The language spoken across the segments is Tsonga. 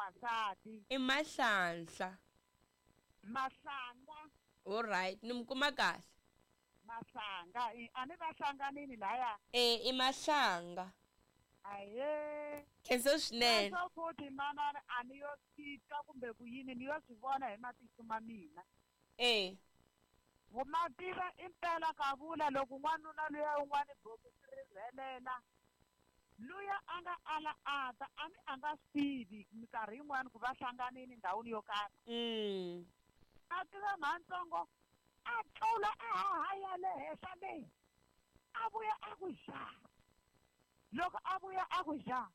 vavasati. I mahlanhla. Mahlanga. Alright, ni mi kuma kahle. Mahlanga, a ni va hlanganini laya. E i mahlanga. Ahe. Khensa swinene. Sweswo futhi manana a ni yo swi twa kumbe ku yini, ni yo swi vona hi matihlo ma mina. E. Ma tiva impela ka vula loko n'wanuna luya un'wana bokisi ri rhelela, luya a nga ala a ta, a ni a nga swi tivi minkarhi yin'wani ku va hlanganini ndhawini yo karhi. A tiva mhantsongo, a tlula a haha ya le henhla leyi, a vuya a ku ja. Loko a vuya a ku ja,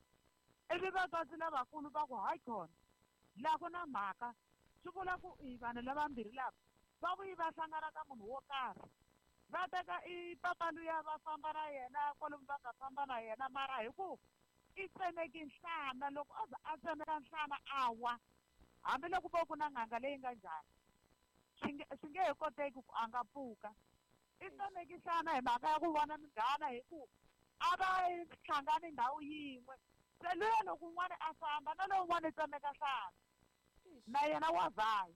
ivi vatswatsi lavakulu va ku hayi khona, la ku na mhaka, swi vula ku i vanhu lavambirhi lava va vuyi va hlangana ka munhu wo karhi, va teka i papa luya va famba na yena kwalomu va nga famba na yena, mara hi ku i tsemeki nhlana, loko a za a tsemeka nhlana a wa, hambiloko vo ku na n'anga leyi nga njhani, swi nge he koteki ku a nga pfuka. I tsemeki nhlana hi mhaka ya ku vona minghana, hi ku a va hlangani ndhawu yin'we. Se luya loko un'wana a famba na lowun'wana i tsemeka nhlana, na yena wa vhaya.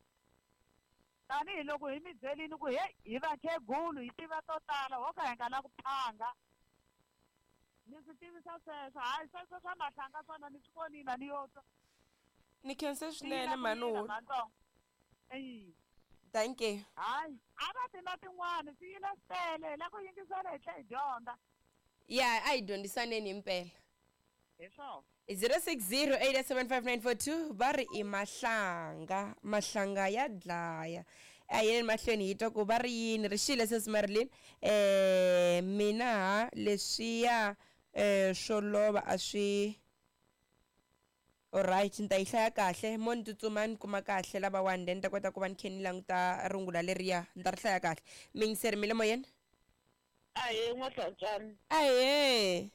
Tanihi loko hi mi byelini ku hey, hi vakhegulu hi tiva to tala, ho ka hi nga la ku phanga. Ni swi tivisa sweswo, hayi sweswo swa mahlanga swona ni swi vonile ni yo twa. Ni khense swinene manulu. Thank you. Hayi, a va ti na tin'wani swi yile swi tele, hi la ku yingisela hi tlhela hi dyondza. Ya, a hi dyondzisaneni himpela. Hi swona. 06087594 va ri i mahlanga, mahlanga ya dlaya. A hi yeni mahlweni hi twa ku va ri yini. Ri xile sesi Marilyn. Mina ha leswiya swo lova a swi. Alright, ni ta yi hlaya kahle. Mo ni tsutsuma ni kuma kahle lavawani, then ni ta kota ku va ni khe ni languta rungula leriya, ni ta ri hlaya kahle. Miyingiseri mi le moyeni? Ahee, n'wahlantswana. Ahee.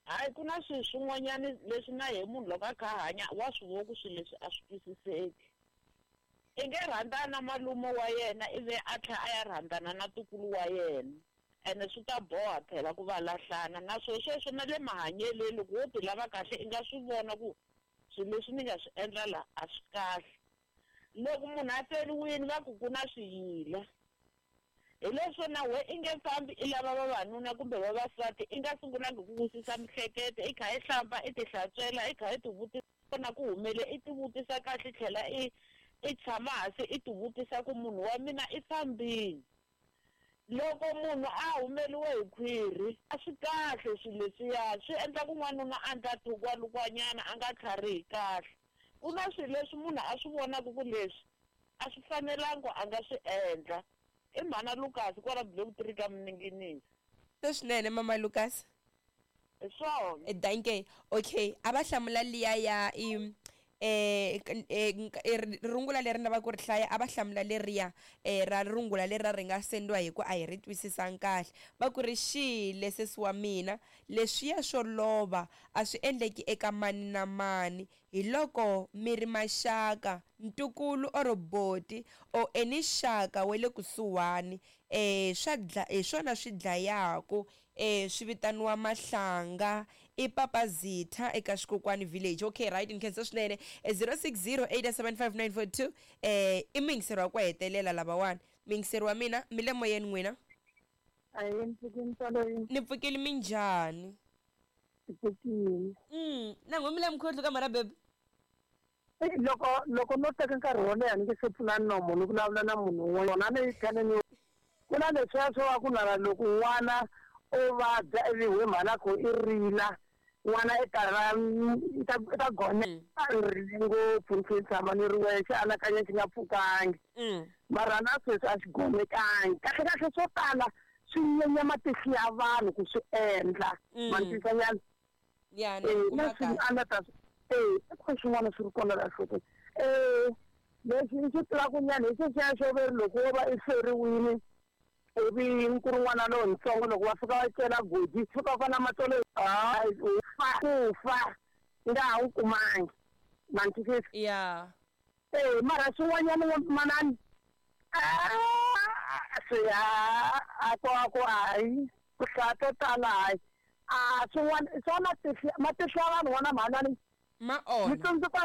Hayi, ku na swilo swin'wanyana leswi na he munhu loko a kha a hanya wa swi vona ku swilo leswi a swi twisiseki. I nge rhandzana na malume wa yena ivi a tlhela a ya rhandzana na ntukulu wa yena, ene swi ta boha phela ku va lahlana. Naswona sweswo na le mahanyeleni loko wo ti lava kahle i nga swi vona ku swilo leswi ni nga swi endla la a swi kahle. Loko munhu a feriwile va ku ku na swiyila, hi leswo na we i nge fambi i lava vavanuna kumbe vavasati i nga sungulangi ku wisisa mihleketo, i kha i hlamba i ti hlantswela, i kha i ti vutisa na ku humele, i ti vutisa kahle, i tlhela i tshama hansi i ti vutisa ku munhu wa mina i fambini. Loko munhu a humeliwe hi khwiri a swi kahle swilo leswiya, swi endla ku n'wanuna a ndla thukwalukwanyana a nga tlharihi kahle. Ku na swilo leswi munhu a swi vonaka ku leswi a swi fanelangi a nga swi endla. I mhana Lucas kwala Block 3 ka Mninginisi. Swinene mama Lucas. Hi swona. Danke. Okay, a va hlamula liya ya i rungula leri ni lavaka ku ri hlaya, a va hlamula leriya ra rungula leri ri nga sendiwa hi ku a hi ri twisisanga kahle. Va ku ri xile sesi wa mina, leswiya swo lova a swi endleki eka mani na mani, hi loko mi ri maxaka, ntukulu or boti or any xaka wa le kusuhani, swa dla, hi swona swi dlayaku, swi vitaniwa mahlanga. I Papa Zitha eka Xikokwani Village. Okay, right, ni khensa swinene. 06087594 2, i muyingiseri wa ku hetelela lavawani. Muyingiseri wa mina, mi le moyeni n'wina? Ahee, ni pfukile ntswalo. Ni pfukile, minjhani? Ni pfukile. Na n'we mi le mukhuhlu ka mara baby? Loko no teka nkarhi wo leha ni nge se pfula nomo ni vulavula na munhu un'wana, na ni khale ni ku na leswiya swo va ku nala loko n'wana o vabya ivi we mhana kho i rila, n'wana i ta ra, i ta, i ta gonya. A ni rile ngopfu, ni tlhela ni tshama ni ri wexe, anakanya xi nga pfukangi. Mara na sweswi a xi gonekangi. Kahle kahle swo tala swi nyenya matihlo ya vanhu ku swi endla. Ma ni twisisa nyana? Ya, ni kuma Na swi kahle. a na ta swi, i ku swin'wana swi ri kona laha nhlokweni. Lexi ni xi tivaka nyana hi xexiya xo ve ri loko wo va i feriwile, ivi ku ri n'wana lontsongo loko va fika va cela godi, fika va fana matsolo, hayi, u fa, ku fa, nga ha n'wi kumangi. Ma ni twisisa? Ya. Mara swin'wanyana manani, swi a ko a ku hayi, ku hlaya to tala hayi. Swin'wana swa matihlo, matihlo ya vanhu vona mhanani. Ma onha. Ni tsundzuka